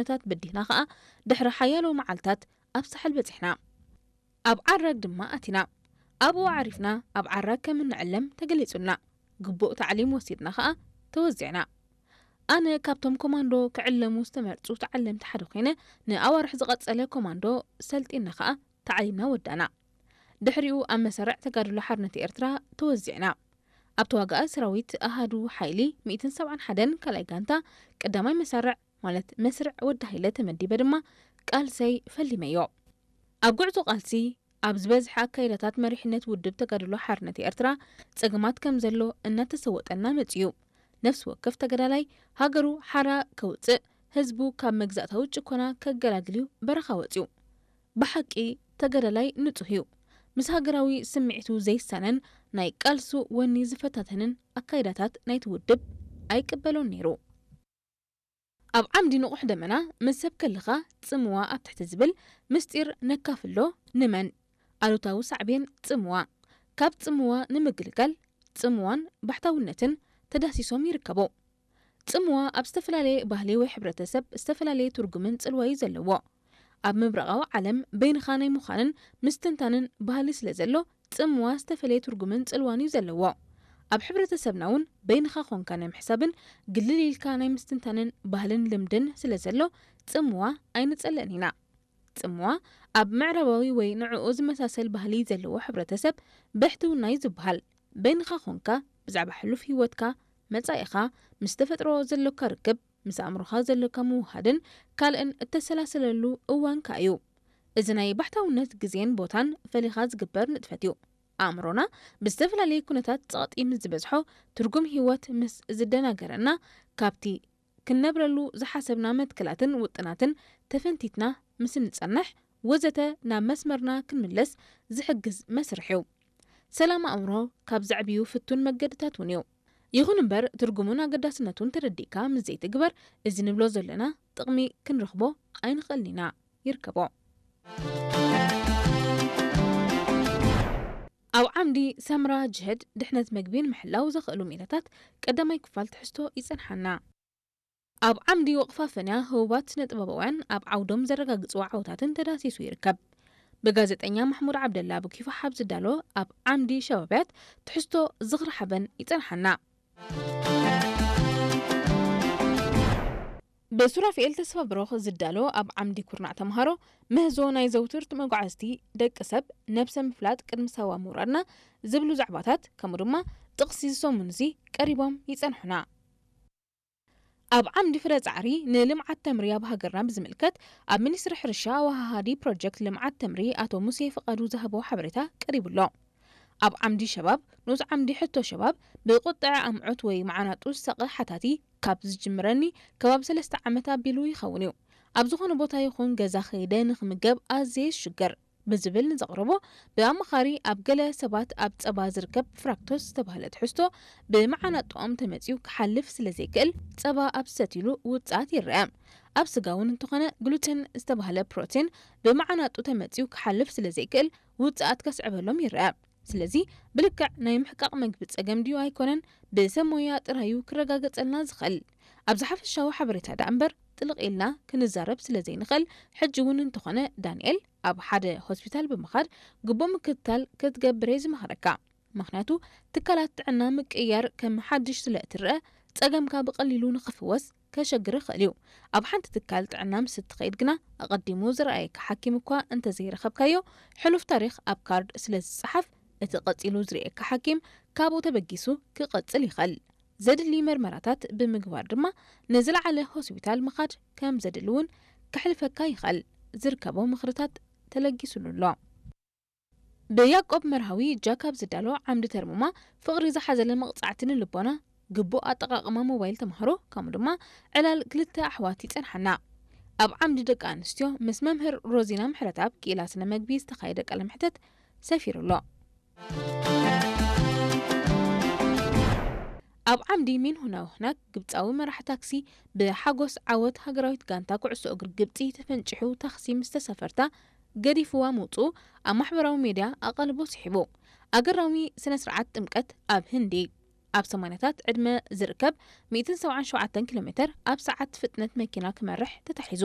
ኩነታት በዲህና ከኣ ድሕሪ ሓያሎ መዓልታት ኣብ ሳሕል በጺሕና። ኣብ ዓራግ ድማ ኣቲና። ኣብኡ ዓሪፍና ኣብ ዓራግ ከም እንዕለም ተገሊጹልና። ግቡእ ታዕሊም ወሲድና ከኣ ተወዚዕና። ኣነ ካብቶም ኮማንዶ ክዕለሙ ዝተመርጹ ተዓለምቲ ሓደ ኮይነ፣ ንኣዋርሕ ዝቐጸለ ኮማንዶ ሰልጢና ከኣ ታዕሊምና ወዳና። ድሕሪኡ ኣብ መሰርዕ ተጋድሎ ሓርነት ኤርትራ ተወዚዕና። ኣብ ተዋጋኢ ሰራዊት ኣሃዱ ሓይሊ ሚእትን ሰብዓን ሓደን ካልኣይ ጋንታ ቀዳማይ መሰርዕ ማለት መስርዕ ወዲ ሃይለ ተመዲበ ድማ ቃልሰይ ፈሊመዮ። ኣብ ጉዕዞ ቃልሲ ኣብ ዝበዝሐ ኣካይዳታት መሪሕነት ውድብ ተጋድሎ ሓርነት ኤርትራ ጸገማት ከም ዘሎ እናተሰወጠና መጺኡ። ነፍሲ ወከፍ ተጋዳላይ ሃገሩ ሓራ ከውጽእ፣ ህዝቡ ካብ መግዛእታዊ ጭኮና ከገላግል እዩ በረኻ ወጺኡ። ብሓቂ ተጋዳላይ ንጹህ እዩ። ምስ ሃገራዊ ስምዒቱ ዘይሳነን ናይ ቃልሱ ወኒ ዝፈታተንን ኣካይዳታት ናይቲ ውድብ ኣይቅበሎን ነይሩ። ኣብ ዓምዲ ንቑሕ ደመና ምስ ሰብ ከለኻ ጽምዋ ኣብ ትሕቲ ዝብል ምስጢር ነካፍሎ ንመን? ኣሉታዊ ሳዕቤን ጽምዋ። ካብ ጽምዋ ንምግልጋል ጽምዋን ባሕታውነትን ተዳሲሶም ይርከቡ። ጽምዋ ኣብ ዝተፈላለየ ባህሊ ወይ ሕብረተሰብ ዝተፈላለየ ትርጉምን ጽልዋዩ ዘለዎ። ኣብ ምብራቓዊ ዓለም በይንኻ ናይ ምዃንን ምስትንታንን ባህሊ ስለ ዘሎ ጽምዋ ዝተፈለየ ትርጉምን ጽልዋን እዩ ዘለዎ። ኣብ ሕብረተሰብና እውን በይንኻ ኾንካ ናይ ምሕሳብን ግልል ኢልካ ናይ ምስትንታንን ባህልን ልምድን ስለ ዘሎ ጽምዋ ኣይንጸልእን ኢና። ጽምዋ ኣብ ምዕራባዊ ወይ ንዕኡ ዝመሳሰል ባህሊ ዘለዎ ሕብረተሰብ ብሕትውና እዩ ዝበሃል። በይንኻ ኾንካ ብዛዕባ ሕሉፍ ህይወትካ፣ መጻኢኻ፣ ምስ ተፈጥሮ ዘሎካ ርክብ፣ ምስ ኣእምሮኻ ዘሎካ ምውሃድን ካልእን እተሰላስለሉ እዋንካ እዩ። እዚ ናይ ባሕታውነት ግዜን ቦታን ፈሊኻ ዝግበር ንጥፈት እዩ። ኣእምሮና ብዝተፈላለየ ኩነታት ጸቕጢ ምስ ዝበዝሖ፣ ትርጉም ህይወት ምስ ዝደናገረና፣ ካብቲ ክንነብረሉ ዝሓሰብና መትከላትን ውጥናትን ተፈንቲትና ምስ እንጸንሕ፣ ወዘተ ናብ መስመርና ክንምለስ ዝሕግዝ መስርሕ እዩ። ሰላም ኣእምሮ ካብ ዘዕብዩ ፍቱን መገድታት እውን እዩ። ይኹን እምበር፣ ትርጉሙን ኣገዳስነቱን ተረዲእካ ምስ ዘይትግበር፣ እዚ ንብሎ ዘለና ጥቕሚ ክንረኽቦ ኣይንኽእልን ኢና። ይርከቦ። ኣብ ዓምዲ ሰምራ ጅህድ ድሕነት መግቢ ንምሕላው ዘኽእሉ ሜላታት ቀዳማይ ክፋል ትሕዝቶ ይጸንሓና። ኣብ ዓምዲ ወቕፋ ፈንያ ህቡባት ስነ-ጥበባውያን ኣብ ዓውዶም ዘረጋግጽዎ ዓወታትን ተዳሲሱ ይርከብ። ብጋዜጠኛ ማሕሙድ ዓብደላ ብኪፋ ሓብ ዝዳሎ ኣብ ዓምዲ ሸባብያት ትሕዝቶ ዝኽሪ ሓበን ይጸንሓና። ብሱራፊኤል ተስፋ ብሩኽ ዝዳሎ ኣብ ዓምዲ ኩርናዕ ተምሃሮ ምህዞ ናይ ዘውትር መጓዕዝቲ ደቂ ሰብ ነብሰ ምፍላጥ ቅድሚ ሳዋ ምውራድና ዝብሉ ዛዕባታት ከምኡ ድማ ጥቕሲ ዝሰሙን እዚ ቀሪቦም ይጸንሑና። ኣብ ዓምዲ ፍረ ጻዕሪ ንልምዓት ተምሪ ኣብ ሃገርና ብዝምልከት ኣብ ሚኒስትሪ ሕርሻ ኣወሃሃዲ ፕሮጀክት ልምዓት ተምሪ ኣቶ ሙሴ ፍቓዱ ዝሃቦ ሓበሬታ ቀሪቡ ኣሎ። ኣብ ዓምዲ ሸባብ ንኡስ ዓምዲ ሕቶ ሸባብ ብቁጥዐ ኣምዑት ወይ መዓናጡ ዝሳቐ ሓታቲ ካብ ዝጅምረኒ ከባቢ ሰለስተ ዓመት ኣቢሉ ይኸውን እዩ። ኣብ ዝኾነ ቦታ ይኹን ገዛ ከይደ ንኽምገብ ኣዝየ ይሽገር። ብዝብል ንዘቕረቦ ብኣማኻሪ ኣብ ገለ ሰባት ኣብ ጸባ ዝርከብ ፍራክቶስ ዝተባህለ ትሕዝቶ ብመዓናጥኦም ተመጺኡ ክሓልፍ ስለ ዘይክእል ጸባ ኣብ ዝሰትይሉ ውጽኣት ይረአ። ኣብ ስጋ እውን እንተኾነ ግሉተን ዝተባህለ ፕሮቲን ብመዓናጡ ተመጺኡ ክሓልፍ ስለ ዘይክእል ውጽኣት ከስዕበሎም ይረአ። ስለዚ ብልክዕ ናይ ምሕቃቕ መግቢ ጸገም ድዩ ኣይኮነን ብሰብ ሞያ ጥራዩ ክረጋገጸልና ዝኽእል። ኣብዚ ሓፈሻዊ ሓበሬታ ደኣ እምበር ጥልቕ ኢልና ክንዛረብ ስለ ዘይንኽእል ሕጂ እውን እንተኾነ ዳንኤል ኣብ ሓደ ሆስፒታል ብምኻድ ግቡእ ምክትታል ክትገብር እየ ዝመኽረካ። ምኽንያቱ ትካላት ጥዕና ምቅይያር ከም ሓድሽ ስለ እትረአ ጸገምካ ብቐሊሉ ንኽፍወስ ከሸግር ይኽእል እዩ። ኣብ ሓንቲ ትካል ጥዕና ምስ እትኸይድ ግና ኣቐዲሙ ዝረኣየካ ሓኪም እኳ እንተዘይረኸብካዮ ሕሉፍ ታሪኽ ኣብ ካርድ ስለ ዝጸሓፍ እቲ ቀጺሉ ዝርእየካ ሓኪም ካብኡ ተበጊሱ ክቐጽል ይኽእል። ዘድሊ መርመራታት ብምግባር ድማ ንዝለዓለ ሆስፒታል ምኻድ ከም ዘድሊ እውን ከሕልፈካ ይኽእል። ዝርከቦ ምኽርታት ተለጊሱሉ ኣሎ። ብያቆብ መርሃዊ ጃካብ ዝዳሎ ዓምዲ ተርሙማ ፍቕሪ ዝሓዘለ መቕጻዕቲ ንልቦና፣ ግቡእ ኣጠቓቕማ ሞባይል ተምሃሮ ከምኡ ድማ ዕላል ክልተ ኣሕዋት ይጸንሓና። ኣብ ዓምዲ ደቂ ኣንስትዮ ምስ መምህር ሮዚና ምሕረትኣብ ክኢላ ስነ መግቢ ዝተኻየደ ቃለ መሕተት ሰፊሩ ኣሎ። ኣብ ዓምዲ ሚን ሁናውህናክ ግብጻዊ መራሕ ታክሲ ብሓጎስ ዓወት ሃገራዊት ጋንታ ኩዕሶ እግሪ ግብጺ ተፈንጪሑ ታክሲ ምስ ተሳፈርታ ገዲፍዋ ምውጽኡ ኣብ ማሕበራዊ ሜድያ ኣቓልቦ ስሒቡ። ኣገራሚ ስነ ስርዓት ጥምቀት ኣብ ህንዲ። ኣብ ሰማንያታት ዕድመ ዝርከብ ሚእትን ሰብዓን ሸውዓተን ኪሎ ሜትር ኣብ ሰዓት ፍጥነት መኪና ክመርሕ ተታሒዙ።